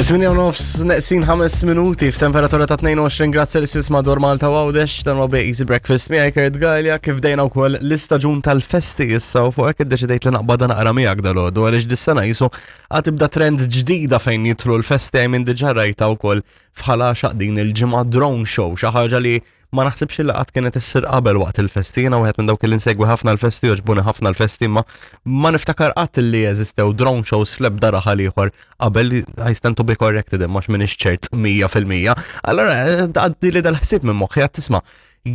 8 u nofs neqsin 5 minuti f'temperatura ta' 22 grad Celsius madwar Malta u Għawdex dan huwa Easy Breakfast miegħi Kurt Galea kif bdejna wkoll l-istaġun tal-festi issa u fuq hekk iddeċidejt li naqbad naqra miegħek dalgħodu għaliex dis-sena jisu għad tibda trend ġdida fejn jidħlu l-festi għaj minn diġà rajta wkoll f'Ħal Għaxaq din il-ġimgħa drone show xi ħaġa li ma naħsibx li qatt kienet issir qabel waqt il-festi, jiena wieħed minn dawk li nsegwi ħafna l-festi, jogħġbuni ħafna l-festi, imma ma niftakar qatt li jeżistew drone shows fl-ebda raħal ieħor qabel I stand to be corrected imma x'minix ċert 100%. Allora għaddi li dal-ħsieb minn moħħi għad tisma'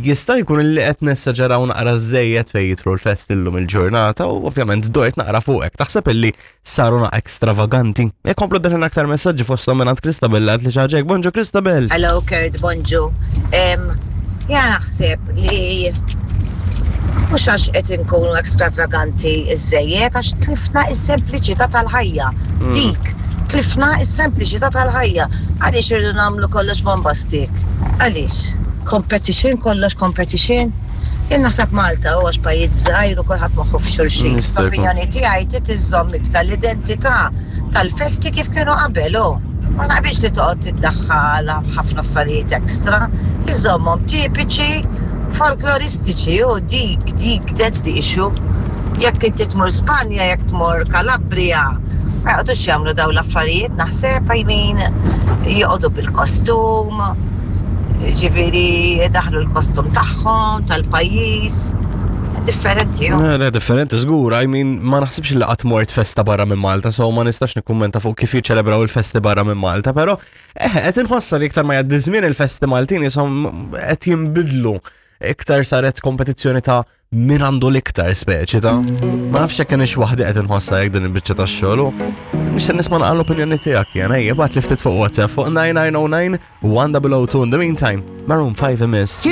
jista' jkun li qed nessaġeraw naqra żejjed fejn jidħlu l-festi llum il-ġurnata u ovvjament dort naqra fuqek. Taħseb illi saru naqra ekstravaganti. Ikomplu daħlin aktar messaġġi fosthom minn Kristabel għad li xaġek. Bonġu Kristabel. Hello Kurt, bonġu. Ja naħseb li mhux għax qed inkunu ekstravaganti iżejjed għax tlifna is-sempliċità tal-ħajja. Dik, tlifna is-sempliċità tal-ħajja. Għaliex irridu nagħmlu kollox bombastik? Għaliex? Competition, kollox competition. Jien naħseb Malta u għax pajjiż żgħir u kulħadd moħħu f'xulxin. L-opinjoni tiegħi trid iżżomm iktar l-identità tal-festi kif kienu qabel u ma naqbilx li toqgħod tiddaħħal ħafna affarijiet extra, iżommhom tipiċi folkloristiċi u dik dik that's the issue. Jekk inti tmur Spanja, jekk tmur Calabria, ma joqgħodux jagħmlu dawn l-affarijiet naħseb I mean joqogħdu bil-kostum. Ġifieri daħlu l-kostum tagħhom, tal-pajjiż. Differenti. Le, le, differenti, żgur. I mean, ma naħsibx li qatt mort festa barra minn Malta, so ma nistax nikkummenta fuq kif jiċċelebraw il-festi barra minn Malta, però eh, qed inħossa li iktar ma jgħaddi żmien il-festi Maltin jisom qed jinbidlu iktar saret kompetizzjoni ta' min għandu l-iktar speċi ta' ma nafx jekk kienx waħdi qed inħossha jekk din il-biċċa tax-xogħol u nixtieq nisma' naqra l-opinjoni tiegħek jien ejja bagħat li ftit fuq WhatsApp fuq 9909 1002 in the meantime Maroon 5 imiss.